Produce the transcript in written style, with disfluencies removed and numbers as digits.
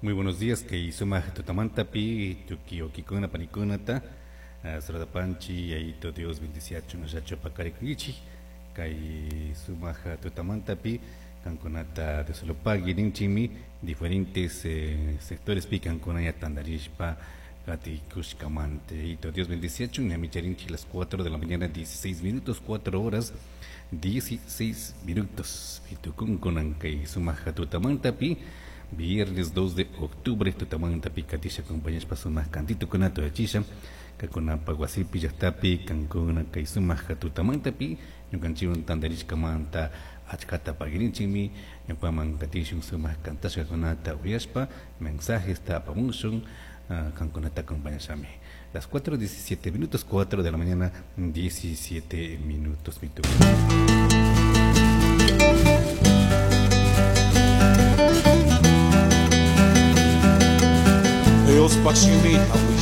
Muy buenos días, kay sumaq tutamantapi tukuy wawkikuna panikunata Panchi, Yayito Dios bendiciachun ashachu paqarikunkichik kay sumaq tutamantapi kankunata Dioslopagui ninchikmi diferentes sectorespi kankuna ña tantarishpa katikushkamanta. Yayito Dios bendiciachun, ñami charinchik las 4 de la mañana 16 minutos, 4 horas 16 minutos. Tukunkunan kay sumaq tutamantapi viernes 2 de octubre tutamantapi katisha acompañashpa sumaq kantitukunata uyachisha kankunapaq wasipi llaqtapi kankuna kay sumaq tutamantapi ñukanchikwan tantarishkamanta achkata pagirinchikmi ñukaman katishun sumaq kantashkakunata uyashpa mensajesta apamushun kankunata acompañashami. Las 4:17 minutos, 4 de la mañana 17 minutos. Diospaj shimita.